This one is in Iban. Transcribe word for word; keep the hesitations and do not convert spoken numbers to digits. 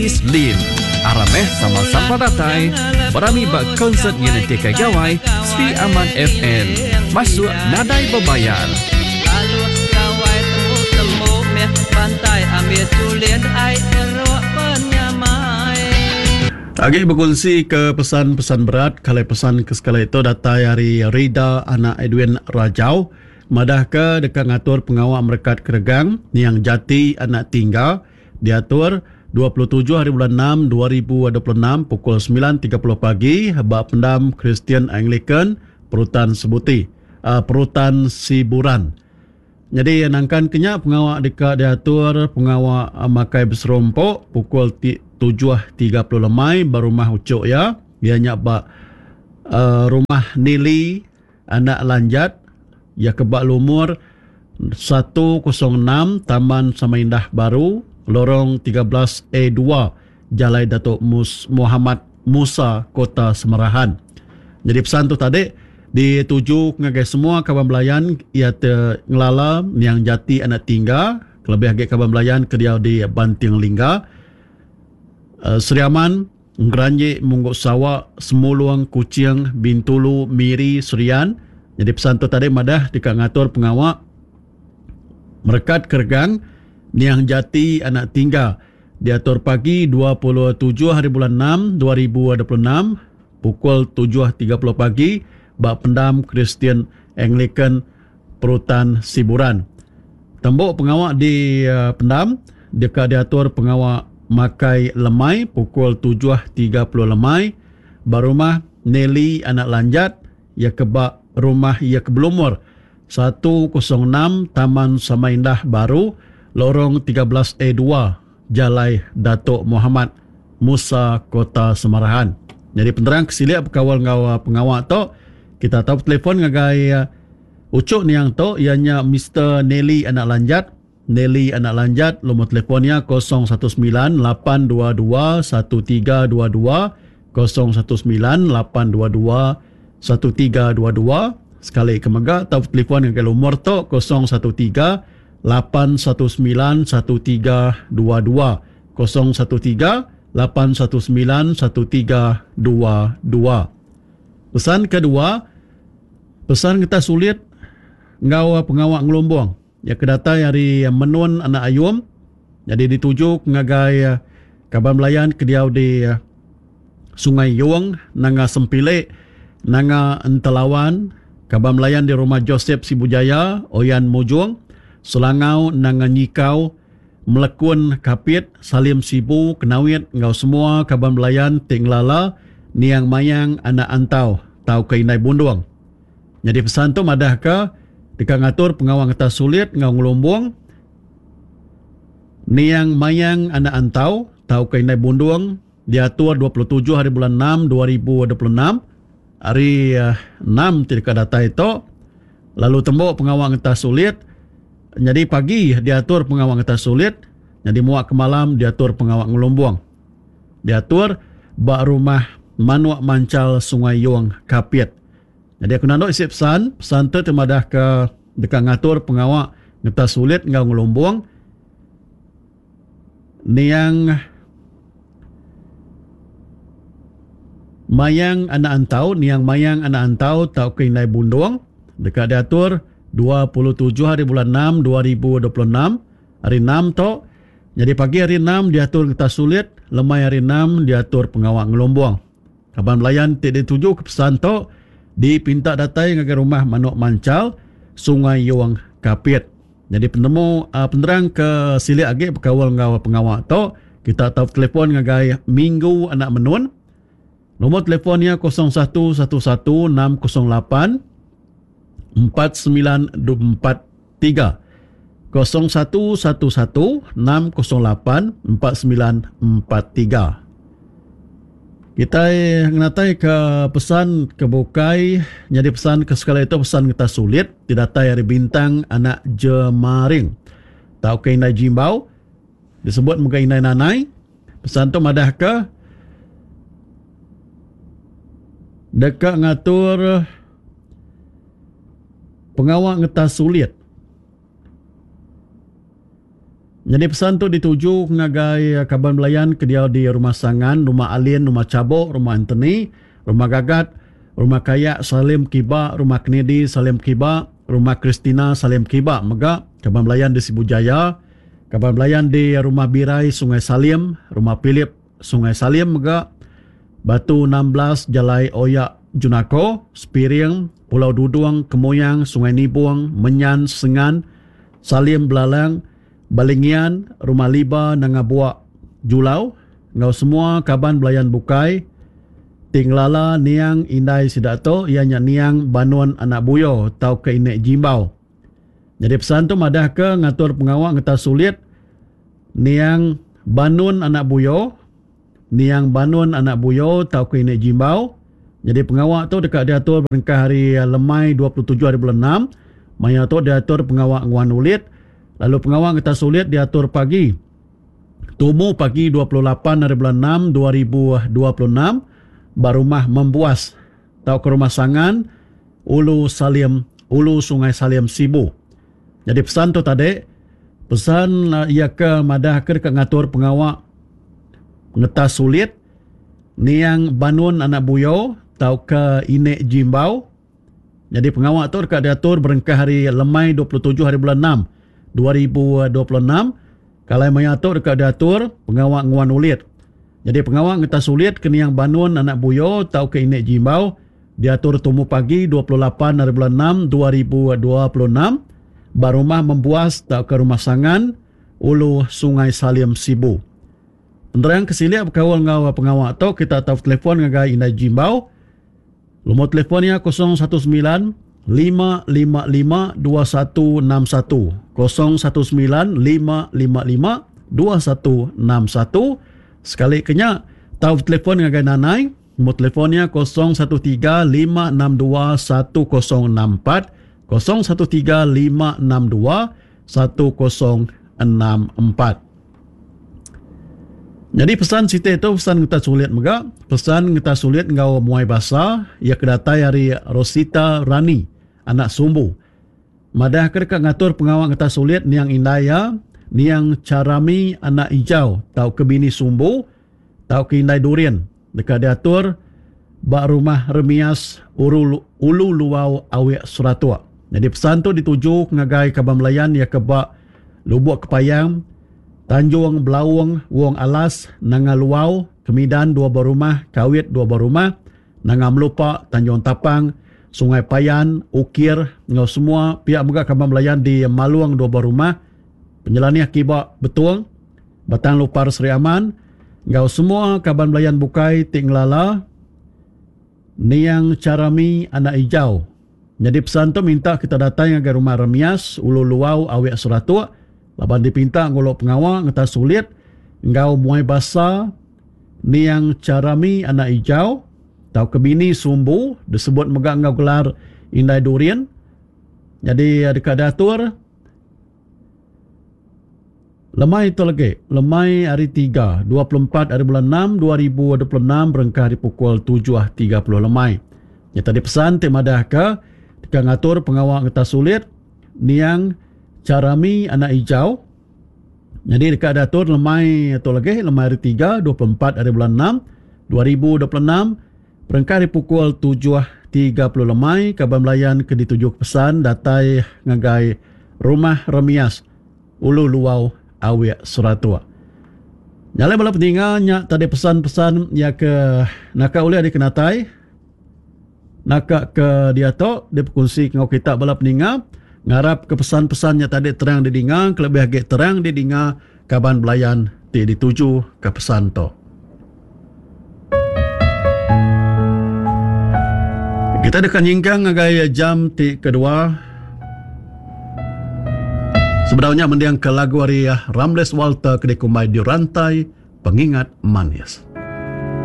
Dennis Lim. Aram meh sama sampal datai berami ba konsert Nyenentika Gawai Sri Aman F M. Masuk nadai bebayar. Agi berkongsi ke pesan-pesan berat, kalau pesan ke sekali itu datai hari Rida anak Edwin Rajau madah ke dekat ngatur pengawal merekat keregang yang jati anak tinggal diatur dua puluh tujuh hari bulan enam dua ribu dua puluh enam pukul sembilan tiga puluh pagi bak pendam Kristian Anglican Perutan Sebuti, uh, Perutan Siburan. Jadi nangkan kenya pengawal dekat diatur pengawal uh, makai berserompok pukul tujuh tiga puluh lemai berumah ucuk ya. Dia nyak bak, uh, rumah Nili anak Lanjat ya ke bak lumur satu kosong enam Taman Samaindah Baru Lorong tiga belas A dua Jalai Datuk Mus-, Muhammad Musa Kota Semerahan. Jadi pesan tu tadi dituju ngagai semua kawan belayan ia te ngelala yang jati anak tinggal kelebih agi kawan belayan ke dia di Banting Lingga, uh, Sri Aman, Ngeranjik, Mungguk Sawak, Semuluang, Kuching, Bintulu, Miri, Serian. Jadi pesan tu tadi madah dekat ngatur pengawak merekat keregang Niang Jati anak tinggal diatur pagi dua puluh tujuh hari bulan enam dua ribu dua puluh enam pukul tujuh tiga puluh pagi bak pendam Kristian Anglican Perutan Siburan. Tembok pengawak di, uh, pendam dekat diatur pengawak makai lemai pukul tujuh tiga puluh lemai barumah Nelly anak Lanjat ya kebak rumah ya kebelumur satu kosong enam Taman Samaindah Baru Lorong tiga belas A dua Jalai Datuk Muhammad Musa Kota Semarahan. Jadi penerang kesiliak berkawal ngau pengawak tu kita tahu telefon ngagai, uh, ucuk niang tu ianya Mister Nelly anak Lanjat. Nelly anak Lanjat nombor telefonnya kosong satu sembilan lapan dua dua satu tiga dua dua kosong satu sembilan lapan dua dua satu tiga dua dua. Sekali kemega tahu telefon ngagai lumur tu kosong satu tiga lapan satu sembilan satu tiga dua dua kosong satu tiga lapan satu sembilan satu tiga dua dua. Pesan kedua, pesan kita sulit ngau pengawak ngelumbung. Ya kedatai hari Menun anak Ayum. Jadi dituju ngagai kaban belayan ke diau di Sungai Yong, Nanga Sempilek, Nanga Entelawan, kaban belayan di rumah Joseph Sibujaya, Oyan Mujung, Selangau, Nanga Nyikau, Melekun Kapit, Salim Sibu, Kenawit, ngau semua kaban belayan Tinglala, Niang Mayang, Anak Antau, Tau ke Indai Bundung. Jadi pesan tu madah ke dekat ngatur pengawang atas sulit ngau ngelumbung Niang Mayang Anak Antau Tau ke Indai Bundung diatur dua puluh tujuh hari bulan enam dua ribu dua puluh enam hari, uh, enam tidak datai itu lalu tembok pengawang atas sulit. Jadi pagi diatur pengawang atas sulit, jadi muak ke malam diatur pengawang ngelumbung. Diatur bak rumah Manuak Mancal Sungai Yong Kapit. Jadi aku nanduk isi pesan, pesan tu temadah ke dekat ngatur pengawak ngetas sulit ngau ngelumbung. Niang Mayang Anak Antau, Niang Mayang Anak Antau tau ke Indai Bundung dekat diatur dua puluh tujuh hari bulan enam dua ribu dua puluh enam hari enam tu. Jadi pagi hari enam diatur ngetas sulit, lemai hari enam diatur pengawak ngelumbung. Kaban belayan ti dituju ke pesan tu dipinta datai ngagai rumah Manuk Mancal Sungai Yong Kapit. Jadi penemu, uh, penerang ke silik agi berkawal ngau pengawak tu kita tahu telefon ngagai Minggu Anak Menun. Nombor telefonnya kosong satu satu satu enam kosong lapan empat sembilan empat tiga. Kosong satu satu satu enam kosong lapan empat sembilan empat tiga. Kita ngenatai ke pesan ke bukai. Jadi pesan ke sekali itu pesan kita sulit. Didatai dari Bintang Anak Jemaring. Tau ke Indai Jimbau. Disebut muka Indai Nanai. Pesan tu madah ke dekat ngatur pengawak ngetas sulit. Nyadi pesan tu dituju ngagai kaban belayan ke diau di Rumah Sangan, Rumah Alin, Rumah Chabok, Rumah Anthony, Rumah Gagat, Rumah Kayak Salim Kiba, Rumah Kennedy Salim Kiba, Rumah Christina Salim Kiba mega kaban belayan di Sibu Jaya, kaban belayan di Rumah Birai Sungai Salim, Rumah Philip Sungai Salim mega, Batu enam belas Jalai Oyak Junako, Spiring, Pulau Dudung, Kemuyang, Sungai Nibung, Menyan, Sengan, Salim Belalang, Balingian, Rumah Liba, Nanga Buak, Julau, enggau semua kaban belayan bukai ti ngelala niang indai sida tu iya nya niang Banun Anak Buyo tauka Inek Jimbau. Jadi pesan tu madah ke ngatur pengawa ngetas sulit niang Banun Anak Buyo, niang Banun Anak Buyo tauka Inek Jimbau. Jadi pengawa tu dekat diatur berengkah hari lemai dua puluh tujuh hari bulan enam. Maya tu diatur pengawa nguan ulit. Lalu pengawa ngetas sulit diatur pagi tumu pagi dua puluh lapan hari bulan enam dua ribu dua puluh enam ba rumah Membuas tauka rumah Sangan Ulu Salim, Ulu Sungai Salim Sibu. Jadi pesan tu tadi, pesan ia ke madah ke dekat ngatur pengawa ngetas sulit niang Banun Anak Buyo tauka Inek Jimbau. Jadi pengawa tu dekat diatur berengkah hari lemai dua puluh tujuh hari bulan enam dua ribu dua puluh enam. Kalai maya tu dekat diatur pengawa nguan ulit. Jadi pengawa ngetas sulit ke niang Banun Anak Buyo tauka Inek Jimbau diatur tumu pagi dua puluh lapan hari bulan enam dua ribu dua puluh enam ba rumah Membuas tauka rumah Sangan Ulu Sungai Salim Sibu. Penerang kesilik berkaul enggau pengawa tu kita tau telefon ngagai Indai Jimbau. Nombor telefonnya kosong satu sembilan lima lima lima dua satu enam satu, kosong satu sembilan lima lima lima dua satu enam satu. Sekali kenya tau telefon ngagai Nanai, nombor telefonnya kosong satu tiga lima enam dua satu kosong enam empat, kosong satu tiga lima enam dua satu kosong enam empat. Jadi pesan siti itu pesan kita sulit mega, pesan kita sulit ngau muai basa ia kedatai hari Rosita Rani anak Sumbu. Madah ke dekat ngatur pengawal kita sulit niang indaya, niang Carami anak hijau tau ke bini Sumbu tau ke indai durian dekat diatur ba rumah Remias Uru, Ulu Luau Awek Seratua. Jadi pesan tu dituju ngagai kaban Melayan ia ke ba Lubuk Kepayang, Tanjung Belaung, Wong Alas, Nanga Luau, Kemidan dua berumah, Kawit dua berumah, Nanga Melupa, Tanjung Tapang, Sungai Payan, Ukir, ngau semua pihak mega kaban Melayan di Maluang dua berumah, Penyelaniah Kiba Betuang, Batang Lupar Seri Aman, ngau semua kaban Melayan bukai ti ngelala niang Carami anak hijau. Jadi pesan tu minta kita datang ngagai rumah Remias, Ulu Luau, Awek Seratuk, laban dipinta ngulok pengawa ngetas sulit ngau muai basa niang Carami anak hijau tau ke bini Sumbu disebut mega ngau gelar Indai Durian. Jadi dekat diatur lemai itu lagi, lemai hari tiga, dua puluh empat hari bulan enam dua ribu dua puluh enam berengkah di pukul tujuh tiga puluh lemai. Ya tadi pesan ti madah ke dekat ngatur pengawal ngetas sulit niang Carami anak hijau. Jadi dekat diatur lemai itu lagi, lemai hari tiga, dua puluh empat hari bulan enam dua ribu dua puluh enam berengkah di pukul tujuh tiga puluh lemai kaban Melayan ke dituju pesan datai ngagai rumah Remias Ulu Luau Awek Seratua. Nyalai bala peninga nya tadi pesan-pesan ya ke naka ulih dikenatai naka ke diatok diperkongsi ngau kita bala peninga. Ngarap ke pesan-pesannya tadi terang didinga, kelebih agi terang didinga kaban belayan ti dituju ke pesan tu. Kita dekat nyingkang ngagai jam ti kedua. Sebenarnya mendiang ke lagu hari Ramles Walter ke dikumbai di rantai pengingat manis.